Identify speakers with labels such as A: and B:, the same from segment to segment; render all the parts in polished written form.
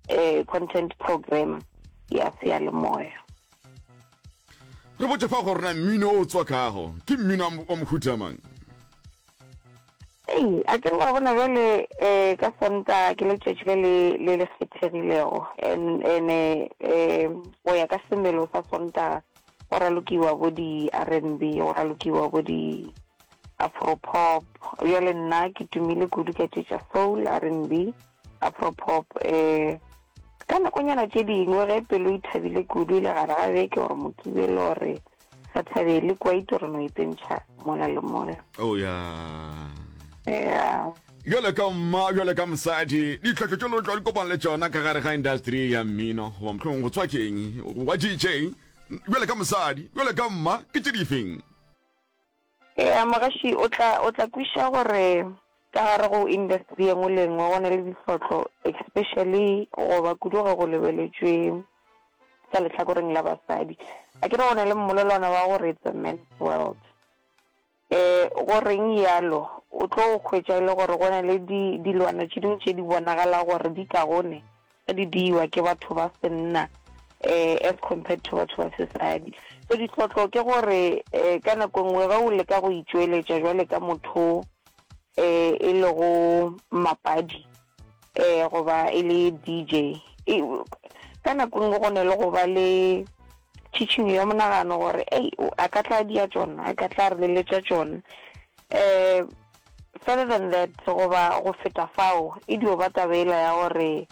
A: Eh, content programmer ya seyalemoya.
B: Re botše fa gore na mmino o tswakago ke mmino wa mohuta mang?
A: Ei, a ke re wa bona bjale eh, ka Sontaga ke letšatši le le le le kgethegilego and ene eh, go ya ka semelo sa Sontaga go ralokiwa bo di R&B, go ralokiwa bo di Afro pop. Bjale nna ke tumile kudu ka tše tša soul, R&B. Afro-pop, eh, ka nakonyana tše dingwe ge pelo e thabile kudu e le gare ga beke gore Mokibelo gore sa thabele kwaito re no ipentšha mola le mola.
B: Oh ya.
A: Yeah.
B: Bjale ka mma, bjale ka mosadi, ditlhohlo tše lo tlo di kopana le tšona ka gare ga industry ya mmino, goba mohlomongwe go tswakeng, wa DJ, bjale ka mosadi, bjale ka mma, ke tše difeng?
A: Ea, mogaši o tla, o tla kwiša gore ka gare go industry ye nngwe le ye nngwe go na le dihlotlo, especially goba kudu ge go lebeletšwe ka lehlakoreng la basadi. A ke re go na le mmolelwana wa gore it's a man's world. Eh, go reng yalo? O tlo hwetša e le gore go na le di, dilwana tše dingwe tše di bonagala gore di kagone ge di diiwa ke batho ba senna eh, as compared to batho ba sesadi. So ditlhotlo ke gore eh, ka nako nngwe ge o leka go itšweletša jwale ka motho eh, e lego mmapadi eh, goba e le DJ, e, ka nako nngwe go ne le go ba le tšhitšhinyo ya monagano gore ei a ka tla dia tšona, a ka tla re leletša tšona. Eh, Further than that, goba go feta fao, e dio ba taba yela ya gore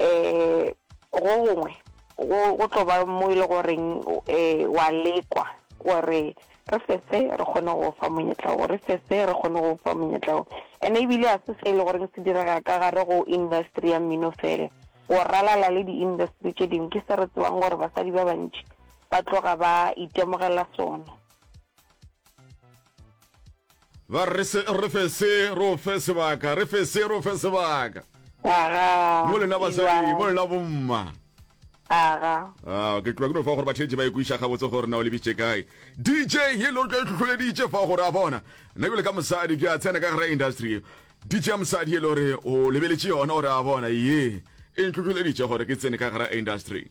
A: um go gongwe go, go tlo ba mo e le goreng um wa lekwa gore re fe se re kgone go fa monyetla wo, re fe se re kgone go fa monyetla wo. And ebile ga se se e le goreng se direga ka gare go industry ya mmino fela, go ralala le di-industry tše dingwe. Ke se re tsebang gore basadi ba bantši ba tloga ba itemogela sona.
B: Ba re se, re fe se, re o fe sebaka, re fe se, re o fe sebaka.
A: Aga.
B: Mo lena basadi, mo lena bomma.
A: Aga.
B: Ah, ke tloga ke no fa gore batheetši ba ikwiša gabotse gore na o lebitše kae. DJ ye le gore ke hlohleleditše fa gore a bona. Nna bjale ka mosadi ke a tsena ka gare industry. DJ ya mosadi ye le gore o lebeletše yona gore a bona ye e ntlhohleleditše gore ke tsene ka gare industry.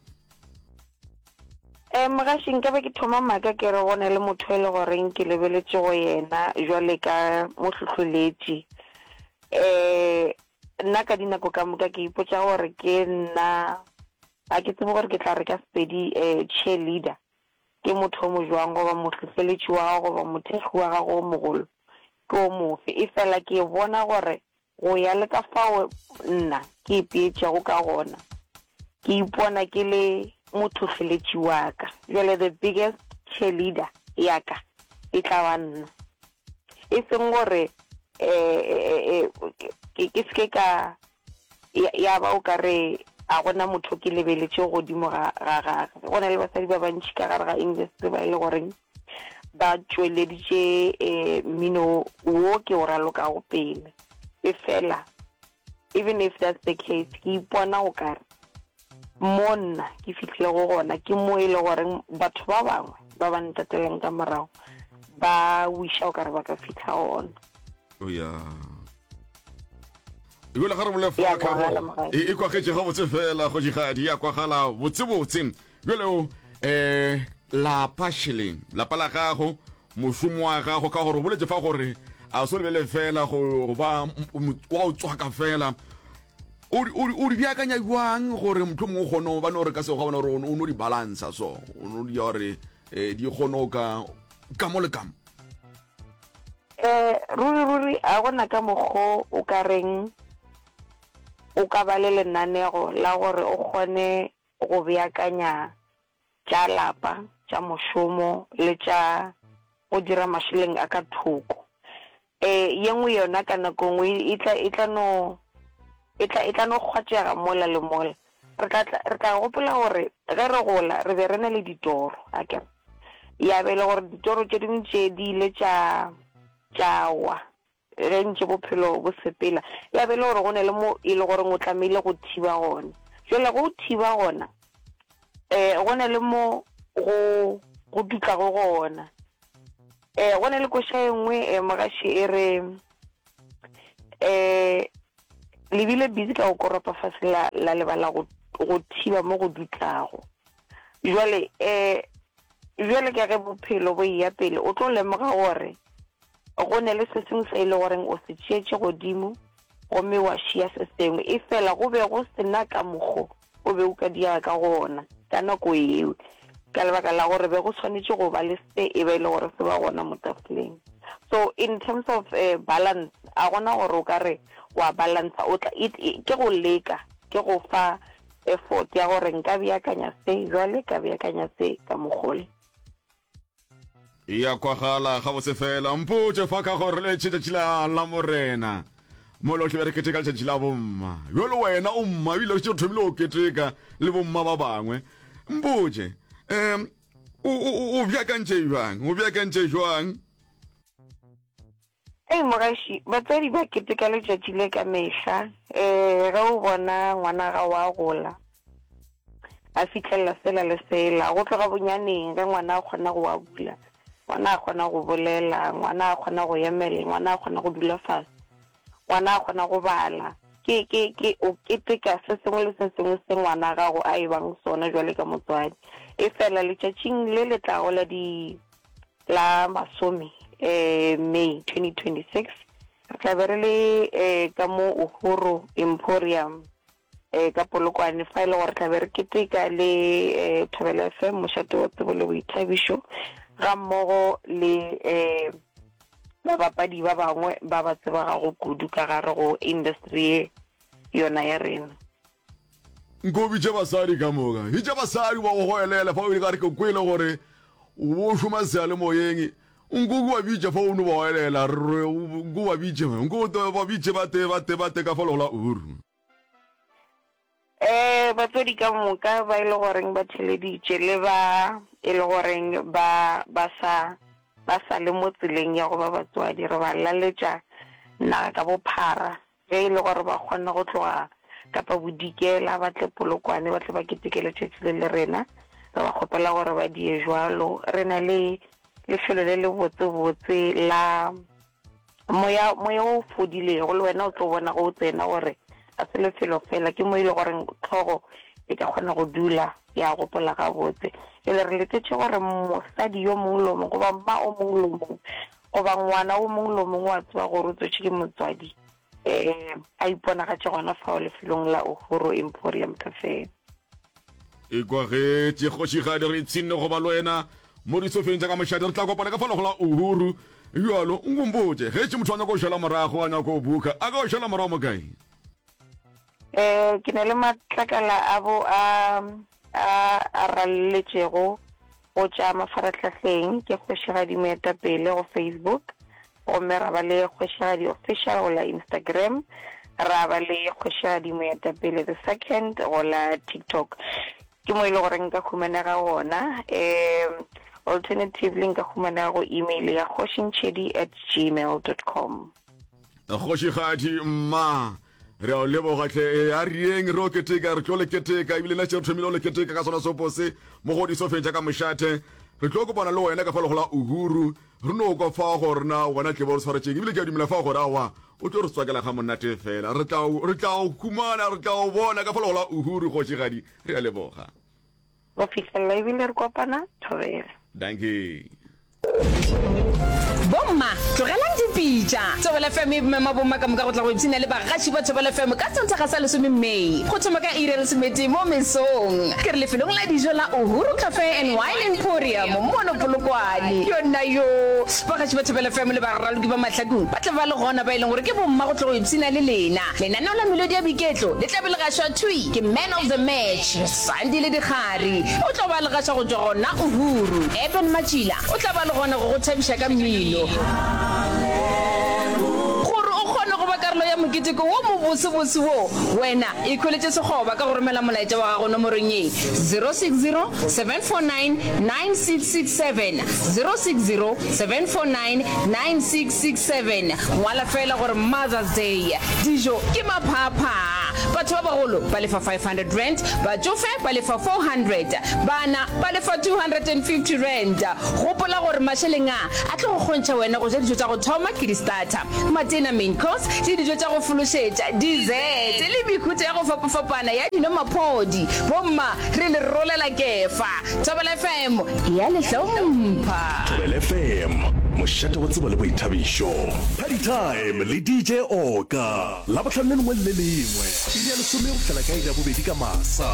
A: Eh, mogaši, nkabe ke thoma maaka ke re go na le motho e le goreng ke lebeletše go yena jwale ka mohlohloletši. Eh, nna ka dinako ka moka ke ipotša gore ke nna, ga ke tsebe gore ke tla re ka Sepedi eh, cheerleader ke motho o mo jwang goba mohlohleletši wa gago goba mothekgi wa gago o mogolo ke o mofe. Efela ke bona gore Go ya le ka fao nna ke ipeetšego ka gona, ke ipona ke le mothohleletši wa ka. Bjale the biggest cheerleader ya ka e tla ba nna. E seng gore ke ke se ke ka ya ba o ka re a gona motho ke lebeletše godimo ga ga gagwe. Go na le basadi ba bantši ka gare ga industry ba e le goreng ba tšweleditše mmino wo ke o ralokago pele. Efela, even if that's the case, ke ipona o kare mo nna ke fihlilego gona ke mo e le goreng batho ba bangwe ba ba ntatelang ka morago ba wiša o kare ba ka fihla gona.
B: Oh yeah. Ebile ga re bole fa ka go e kwagetše gabotse fela kgošigadi ya kwagala botsebotse. Bjale o eh lapa šeleng lapa la gago mošomo wa gago ka gore o boletše fa gore a se lebele fela go ba wa o tswaka fela o di beakanya jwang gore motlho mongwe o kgone ba no re ka sego bona gore o no di balansa so o no di gore eh, di kgone o ka ka mo le ka mo
A: um ruri ruri a gona ka mokgo o ka reng o ka ba le lenanego la gore o kgone go beakanya tša lapa, tša mošomo le tša go dira mašeleng a ka thoko. E, ye nngwe yona ka nako nngwe e tla, e tla no, e tla, e tla no kgwatšega mola le mola. Re tla, tla, re tla gopola gore ge re gola re be re na le ditoro, akere? Ya be e le gore ditoro tše dingwe tše di ile tša, tša wa. Ge ntše bophelo bo sepela, ya be e le gore go na le mo e le goreng o tlamehile go thiba gona. Jwale ge o thiba gona, um go na le mo go go dutlago gona. Um go na le koša e nngwe um mogaši e re um. Le bile busy ka go koropa fase la, la lebala go, go thiba mo go dutlago. Jwale, eh, bjale ka ge bophelo bo eya pele, o tlo lemoga gore go ne le se sengwe se e le goreng o se tšeetše godimo gomme wa šia se sengwe. Efela go be go se na ka mokgo o be o ka diega ka gona ka nako yeo, ka lebaka la gore be go swanetše go ba le se e be e le gore se ba gona mo tafoleng. So in terms of balance, a gona gore o ka re wa balansa, o tla, it, ke go leka, ke go fa effort ya gore nka beakanya se bjale, ka beakanya se ka mokgole.
B: E a kwagala gabotse fela. Mpotše fa ka gore le letšatši la Lamorena mo lohle be re keteka letšatši la bomma. Bjalo wena o mma ebile o šetše o thomile go keteka le bomma ba bangwe. Mpotše, um o, o, o beakantše bjang? O beakantše bjang?
A: Ei mogaši, batswadi ba keteka letšatši le ka mehla. Ee, ge o bona ngwana gago a gola, a fihlelela sela le sela, go tloga bonyaneng ge ngwana a kgona go abula, ngwana a kgona go bolela, ngwana a kgona go emela, ngwana a kgona go dula fase, ngwana a kgona go bala, ke, ke, ke, o keteka se sengwe le se sengwe se ngwana gago a e bang sona jwale ka motswadi. Efela letšatšing le le tlago la di La masome May 2026, re tla be re le ka mo Uhuru Emporium ka Polokwane, fa e le gore tla be re keteka le Thobela FM, mošate wa tsebo le boithabišo, ga mmogo le babapadi ba bangwe ba ba tsebegago kudu ka gare go industry ye yona ya rena.
B: Nko bitše basadi ka moka. Bitša basadi ba go goelela fa o ile ka re ke kwele gore o šoma seyalemoyeng. Nko ke ba bitša fa o no ba goelela. Re nko ba bitše. Nko ba bitše ba te ba te ba te ka fa legola uru.
A: Eh batswadi ka moka ba e le goreng ba theleditše le ba e le goreng ba ba sa ba sa le mo tseleng ya go ba batswadi re ba laletša naga ka bophara Ge e le gore ba kgona go tloga Kapa Bodikela ba tle Polokwane ba tle ba keteke letšatši le le rena, re ba kgopela gore ba die jwalo. Re na le lefelo le le botsebotse la moya, moya o fodilego, le wena o tlo bona ge o tsena gore ga se lefelo fela, ke mo e le goreng tlhogo e ka kgona go dula ya gopola gabotse. Bjale re letetše gore mosadi yo mongwe le yo mongwe goba mma o mongwe le o mongwe Goba ngwana o mongwe le o mongwe wa tseba gore o tswetšwe ke motswadi, ee, a iponagatše gona fao lefelong la Uhuru Emporium Cafe.
B: E kwagetše kgošigadi re ipshinne go ba le wena mo disofeng tša ka mošate. Re tla kopana ka fao go la Uhuru. Bjalo, nkompotše, ge tše motho a nyaka go šala morago, a nyaka go buka, a ka go šala morago mo kae?
A: Ee, ke na le matlakala a bo a a a ralletšego go tša mafarahlahleng ke Kgošigadi Moetapele go Facebook, gomme ra ba le Kgošigadi Official go la Instagram, ra ba le Kgošigadi Moetapele the Second go la TikTok. Ke mo e le gore nka humanega gona. Um alternatively nka humanega go email ya kgošintšhedi at gmail dot com.
B: Kgošigadi mma, re a o leboga hle. E a re yeng re o keteka, re tlo le keteka ebile nna še re thomile go le keteka ka sona sopo se mo go disofeng tša ka mošate. Re tlo kopana le wena ka fa legola Uhuru, re no kwa fa gore na wena tle bo re swaretšeng ebile ke a dumela fa gore aowa o tlo re tswakela ga monate fela. Re tla re tla o humana, re tla o bona ka fa legola Uhuru kgošigadi, re a leboga.
A: Go fihlelela ebile re kopana, thobela.
B: Dankie.
C: Bomma, tlogelang dipitša! Thobela FM e mema bomma ka moka go tla go ipshina le bagaši ba Thobela FM ka Sontaga sa lesome May, go thoma ka iri ya lesometee mo mesong. Ke re lefelong la dijo la Uhuru Cafe and Wine Emporium mono Polokwane. Yonna yoo! Bagaši ba Thobela FM le baraloki ba mahlakong ba tla ba le gona ba e leng gore ke bomma go tla go ipshina le lena. Lenaneo la Melodi ya Boiketlo le tla be le gašwa thwi ke Man of the Match, Sandile Dikgari. O tlo ba le gaša go tšwa gona Uhuru. Eben Matšila o tla ba le gona go go thabiša ka mmino. Gore o kgone go ba karolo ya moketeko wo mobosebose wo, wena ikhweletše sekgoba ka go romela molaetša wa gago nomorong ye, 060 749 9667, 060 749 9667. Ngwala feela gore Mother's Day. Dijo ke maphaaphaa. Batho ba bagolo ba lefa R500, batšofe ba lefa R400, bana ba lefa R250. Gopola gore mašeleng a a tlo go kgontšha wena go ja dijo tša go thoma ke di-starter, matena, main course, le dijo tša. go fološetša, dessert, le mehuta ya go fapafapana ya dinomaphodi. Bomma, re le rolela kefa. Thobela FM e a le hlompha.
D: Thobela FM, mošate wa tsebo le boithabišo. Party Time le DJ Oka, Labohlano le lengwe le le lengwe, iri ya lesome go fihlela ka iri ya bobedi ka masa.